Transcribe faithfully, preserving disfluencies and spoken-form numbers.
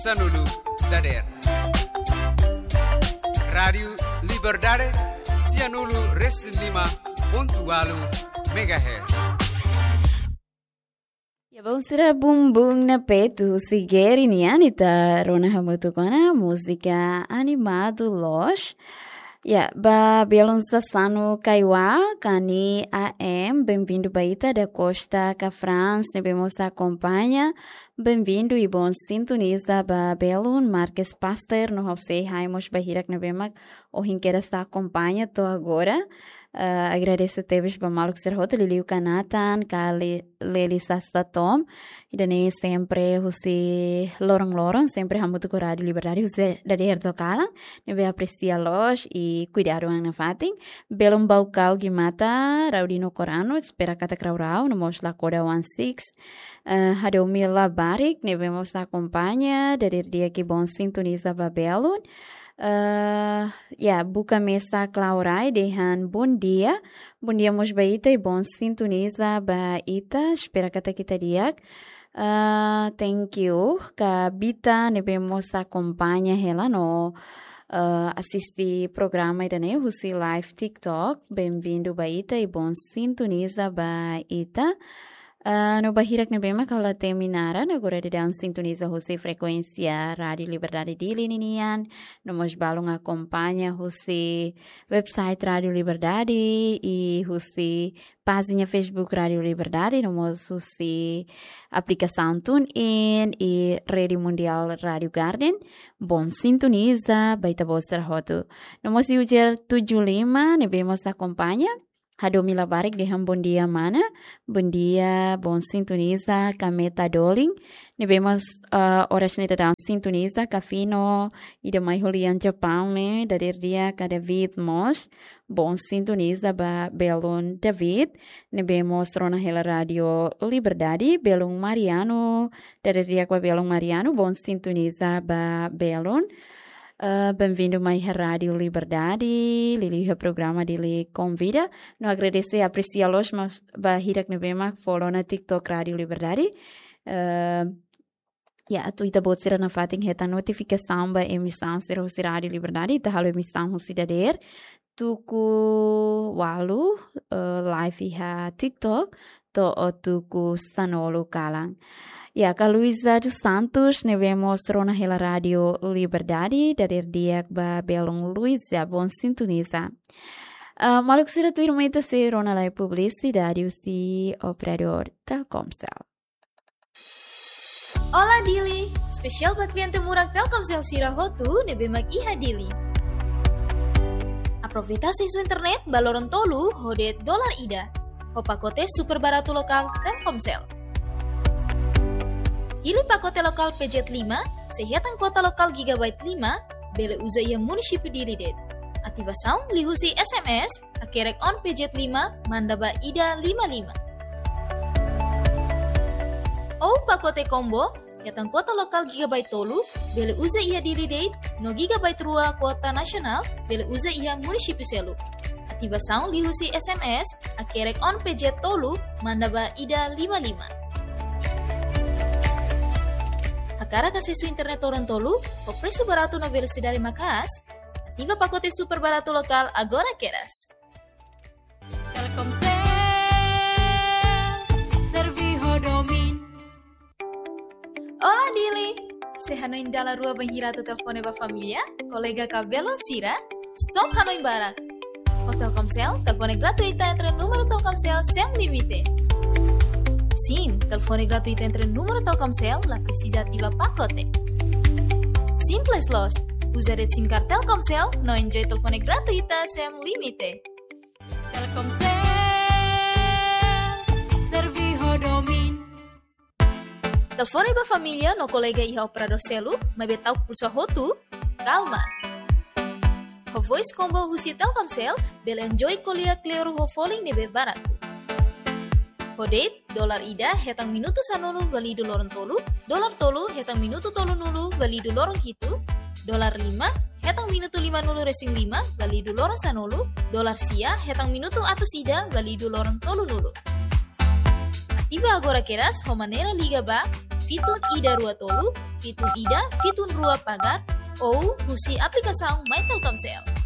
sanulu dadeer. Rádiu Liberdade, sianulu resin lima pontu ualu megahertz. Ya, bom, sira bumbum na petu, husi Geri nian ita rona hamutuk ona múzika animadu loos. Ya, ba belun sasanu kaiwa, kani A M, bem-vindo ba ita, da Costa ka France, ne'ebé mós akompaña, bem-vindo i bom sintoniza ba belun, Marques Pastor, no ha'u sei ha'u mós ba hirak ne'ebé mak ohin kedas akompaña to'o agora. Eh, agradese tebes ba maluk sira hotu, liuliu ka Nathan, ka Le-, Leli Sasta Tom. Ida-ne'e sempre husi loron-loron, sempre hamutuk ho Rádiu Liberdade, husi dadeer to'o kalan, ne'ebé apresia loos i kuidadu an nafatin. Belun Baucau Guimata, Raudino Corano, espera katak rau-rau, no mós Lakoda One Six. Eh, Hadomi Labarik, ne'ebé mós akompaña, dadeer di'ak i bom sintoniza ba belun. Eh, ya, buka mesa Klaurai, dehan bom dia. Bom dia mós ba ita i bom sintoniza ba ita, espera katak ita di'ak. Eh, thank you ka Bita, ne'ebé mós akompaña hela no, eh, asiste programa ida-ne'e husi live TikTok. Bem-vindo ba ita i bom sintoniza ba ita. Ah, no ba hirak ne'ebé mak ha'u la temi naran, agora daudaun sintoniza husi frekuénsia Rádiu Liberdade Dili ninian, no mós balun akompaña husi website Rádiu Liberdade i husi pájina Facebook Rádiu Liberdade, no mós husi aplikasaun TuneIn i Rede Mundial Rádiu Garden. Bom sintoniza ba ita-boot sira hotu. No mós user tujuh lima, ne'ebé mós akompaña. Hadomi Labarik dehan bom dia mana. Bom dia, bom sintoniza, Kameta Dolin. Ne'ebé mós, eh, oras ne'e daudaun sintoniza, Kafino, ida mai holian Japaun ne'e, dadeer di'ak ka David mós. Bom sintoniza ba belun David. Ne'ebé mós rona hela Rádiu Liberdade, belun Mariano, dadeer di'ak ba belun Mariano, bom sintoniza ba belun. Eh, bem-vindo mai iha Rádiu Liberdade, liuliu iha programa Dili Konvida. No agradese, apresia loos mós ba hirak ne'ebé mak follow ona TikTok Rádiu Liberdade. Eh, ya, atu ita-boot sira nafatin hetan notifikasaun ba emisaun sira husi Rádiu Liberdade, ita halo emisaun husi dadeer tuku ualu, eh, live iha TikTok, to'o tuku sanulu kalan. Ya, ka Luisa dos Santos, ne'ebé mós rona hela Rádiu Liberdade, dadeer di'ak ba belun Luisa, bom sintoniza. Ah, maluk sira, tuirmai ita sei rona lai publisidade husi operadór Telkomcel. Olá Dili, espesiál ba kliente murak Telkomcel sira hotu ne'ebé mak iha Dili. Aproveita asesu internet ba loron tolu ho de'it dolar ida, ho pakote super baratu lokál Telkomcel. Hili pakote lokál P Z lima, sei hetan kuota lokál gigabyte lima, bele uza iha munisípiu Dili de'it. Ativasaun liuhusi S M S, hakerek on P Z lima, manda ba ida lima lima. Ou pakote combo, hetan kuota lokál gigabyte tolu, bele uza iha Dili de'it, no gigabyte rua kuota nasionál, bele uza iha munisípiu seluk. Ativasaun liuhusi S M S, hakerek on P Z tolu, manda ba ida lima lima. Hakarak asesu internet loron tolu, ho presu baratu no velosidade maka'as, ativa pakote super baratu lokál agora kedas. Telkomcel, serve ho domin. Olá Dili! Se hanoin dala rua bainhira atu telefone ba família, kolega ka belun sira, stop hanoin barak. Ho Telkomcel, telefone gratuita entre númeru Telkomcel sem limite. Sim, telefone gratuita entre númeru Telkomcel, la presiza ativa pakote. Simples loos, uza de'it SIM card Telkomcel, no enjoy telefone gratuita sem limite. Telkomcel, serve ho domin. Telefone ba família no kolega iha operadór seluk, maibé ta'uk pulsa hotu, kalma. Ho voice combo husi Telkomcel, bele enjoy ko'alia kleur ho folin ne'ebé baratu. Ho de'it, dolar ida, hetan minutu sanulu, válidu loron tolu, dolar tolu, hetan minutu tolunulu, válidu loron hitu, dolar lima, hetan minutu limanulu resin lima, válidu loron sanulu, dolar sia, hetan minutu atus ida, válidu loron tolunulu. Ativa agora kedas, ho maneira liga ba fitun ida rua tolu, fitun ida, fitun rua pagar, ou husi aplikasaun My Telkomsel.